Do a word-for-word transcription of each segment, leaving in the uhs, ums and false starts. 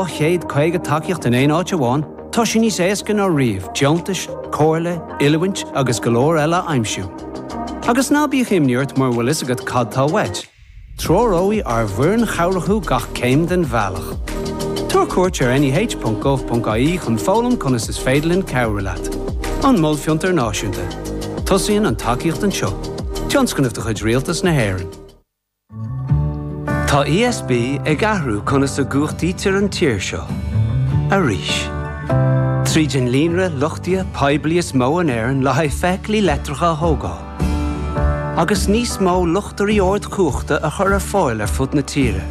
chéad caoga tacaíocht in aon áit amháin, tá sé níos éasca ná riamh deontais, comhairle, oiliúint agus go leor eile a aimsiú. Agus ná bíodh imní ort mura bhfuil a fhios agat cad tá uait. Treoróidh ár bhfoireann chabhrach thú gach céim den bhealach. Tabhair cuairt ar neh.gov.ie chun foghlaim conas is féidir linn cabhrú leat. An Mol Fiontar Náisiúnta. Tosaíonn an tacaíocht anseo. Tionscnamh de chuid Rialtas na hÉireann. Tá ESB ag athrú conas a gcumhachtaítear an tír seo. Arís. Tríd an líonra luchtaithe poiblí is mó in Éirinn le haghaidh feithiclí leictreacha a thógáil. Agus níos mó luchtairí ardchumhachta a chur ar fáil ar fud na tíre.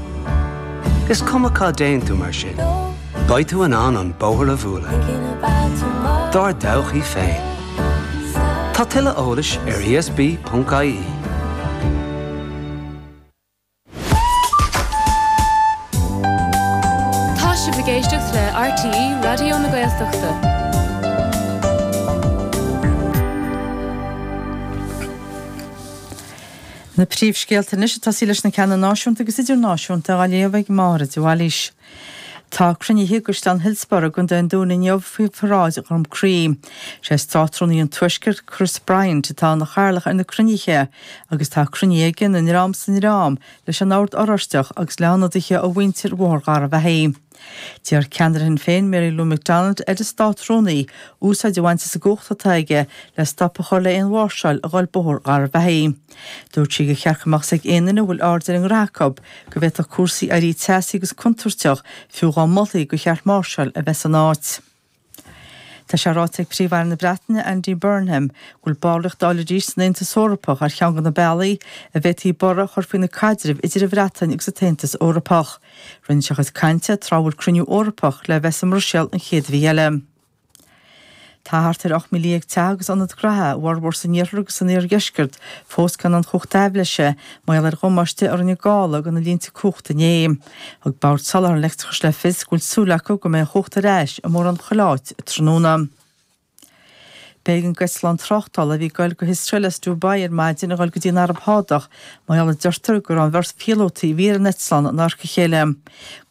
Is cuma cá dtéann tú mar sin. Beidh tú in ann an bóthar a bhualadh. Dár dtodhchaí féin. Tá tuilleadh eolais ar ESB.ie. Tá sibh ag éisteacht le RTÉ Raidió na Gaeltachta. Na príomhscéalta anois ag tosaí leis na ceanna náisiúnta agus idirnáisiúnta á léamh ag Máire de Bhailís. Tá cruinnithe i gCaisleán Hillsborough i gContae an Dúin inniu faoi pharáid Dhroim Crí. Sé Státrúnaí an Tuaiscirt Chris Bryant atá ina chathaoirleach ar na cruinnithe agus tá cruinnithe aige ina ndream 's ina ndream leis an Ord Oráisteach agus le hionadaithe ó mhuintir Bhóthar Gharbhachaidh. D'iarr ceannaire Shinn Féin Mary Lou McDonald ar an Státrúnaí úsáid a bhaint as an gcumhacht atá aige le stop a chur le haon mháirseáil a dhul Bóthar Gharbhachaidh. Dúirt sí gur cheart go mbeadh 's ag aon duine a bhfuil aird ar an ngraithe acu go bhféadfadh cúrsaí éirí teasaí agus contúirteach fiú dhá molfaí gur cheart máirseáil a bheith san áit. Tá sé ráite ag Príomh-Aire na Breataine Andy Burnham go bhfuil ballraíocht a fháil arís san Aontas Eorpach ar cheann de na bealaí a bhféadfaí borradh a chur faoi na caidrimh idir an Bhreatain agus an tAontas Eorpach. Rinne sé a chuid cainte tráth a bhfuil cruinniú Eorpach le bheith sa mBruiséil an chéad mhí eile. Tá thart ar ocht míle dhéag teach agus ionad graithe, a bhformhór san iarthar agus san iardheisceart, fós gan an chumhacht aibhléise mar gheall ar dhamáiste a rinne gála do na línte cumhachta inné. Thug Bord Soláthair an Leictreachais le fios go bhfuil súil acu go mbeidh an chumhacht ar ais i mórán chuile áit tráthnóna. B'éigean d'eitleán tráchtála a bhí ag goil go hIosrael as Dubai ar maidin a dhul go dtí an Araib Shádach mar gheall a deirtear go raibh an bheirt phíolótaí a bhí ar an eitleán in adharca a chéile.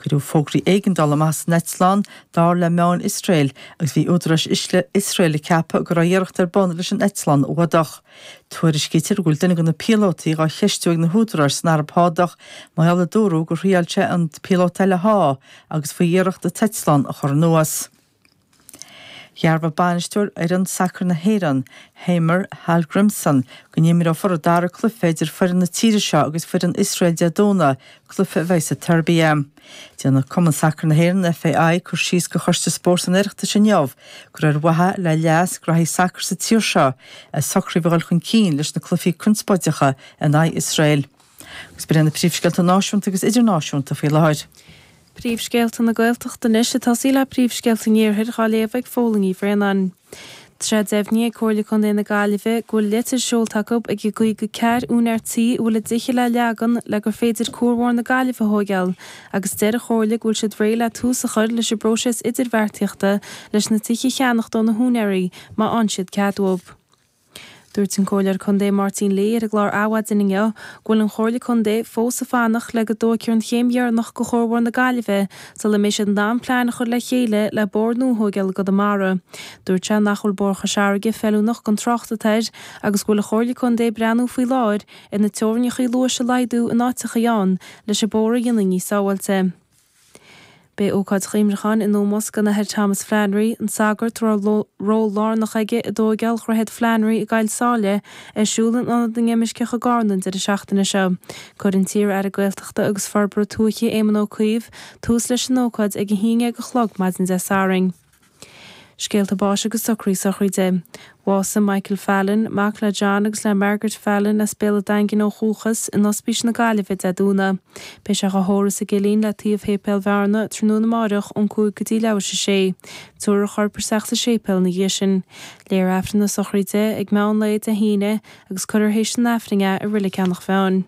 Cuireadh fógraí éigeandála amach as an eitleán, dar le meáin Iosrael, agus bhí údaráis Iosrael ag ceapadh go raibh iarracht ar bun leis an eitleán a fhuadach. Tuairiscítear go bhfuil duine de na píolótaí dhá cheistiú ag na húdaráis san Araib Shádach mar gheall a dúradh gur thriail sé an píolóta eile a shá agus faoi iarracht an t-eitleán a chur anuas. Dhearbhaigh bainisteoir fhoireann sacair na hÉireann, Heimir Hallgrímsson, go n-imreofar an dara cluiche idir foireann na tíre seo agus foireann Iosrael Dé Domhnaigh, cluiche a bheidh sa tSeirbia. Déanfaidh Cumann Sacair na hÉireann, FAI, cur síos do Choiste Spóirt an Oireachtais inniu gur ar mhaithe le leas graithí sacair sa tír seo a socraíodh a dhul chun cinn leis na cluichí conspóideacha in aghaidh Iosrael. Agus b'in iad na príomhscéalta náisiúnta agus idirnáisiúnta faoi láthair. Príomhscéalta na Gaeltachta anois ag tosaí le príomhscéalta an Iarthair dhá léamh ag Fódhla Ní Bhraonáin. Tá sé deimhnithe ag Comhairle Contae na Gaillimhe go bhfuil litir seolta acu ag an gcaoga ceathair úinéir tí a bhfuil a dtithe le leagan le gur féidir Cuar Mhór na Gaillimhe a thóigeáil agus deir an Chomhairle go bhfuil siad réidh le tús a chur leis an bpróiseas idirbheartaíochta leis na tithe a cheannacht ó na húinéirí má fhaigheann siad cead uathu. Dúirt an Comhairleoir Contae Máirtín Lee ar an gclár Adhmhaidin inniu go bhfuil an Chomhairle Contae fós ag fanacht le go dtóigfear an chéim dheireanach de Chuar Mhór na Gaillimhe sula mbeidh siad in ann plean a chur le chéile le bóthar nua a thóigeáil i gConamara. Dúirt sé nach bhfuil Bóthar Chois Fharraige feiliúnach don trácht atá air agus go bhfuil an Chomhairle Contae ag breathnú faoi láthair ar na teorainneacha luais a laghdú in áiteachaí ann leis an bóthar a dhéanamh níos sábháilte. Beidh ócáid chuimhneacháin in ómós don Athair Thomas Flannery, an sagart a raibh ról lárnach aige i dtóigeáil Dhroichead Flannery i gCoill Sáile, ar siúl in Ionad na nImirceach i gCarna an deireadh seachtaine seo. Cuirfidh an t-iar-aire Gaeltachta agus Forbartha Tuaithe Éamon Ó Cuív tús leis an ócáid ag a haon déag a chlog maidin Dé Sathairn. Scéalta báis agus socraí sochraide. Bhásaigh Michael Fallon, mac le John agus le Margaret Fallon as Béal an Daingin ó dhúchas, in Ospís na Gaillimhe Dé Domhnaigh. Beidh sé dhá thórramh sa gCillín le taobh Shéipéal Bhearna tráthnóna amáireach ón cúig go dtí leathuair théis a sé. Tabharfar a chorp isteach sa séipéal ina dhiaidh sin. Léifear Aifreann na sochraide ag meán lae Dé hAoine agus cuirfear théis an Aifrinn é i Reilig Eanach Mheáin.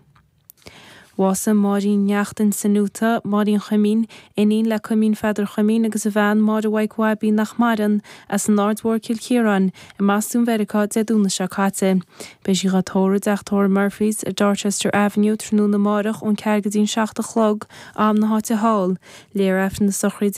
Bhásaigh Máirín Neachtain san Utah, Máirín Chuimín, iníon le Cuimín Pheadair Chuimín agus a bhean Máire Mhaidhc Bhaibín nach maireann, as an Aird Mhór Cill Chiaráin, i mBostún Mheiriceá Dé Domhnaigh seo caite. Beidh sí dhá tórramh i dteach tórraimh Murphy's ar Dorchester Avenue tráthnóna amárach ón ceathair go dtí an seacht a chlog, am na háite thall. Léifear Aifreann na sochraide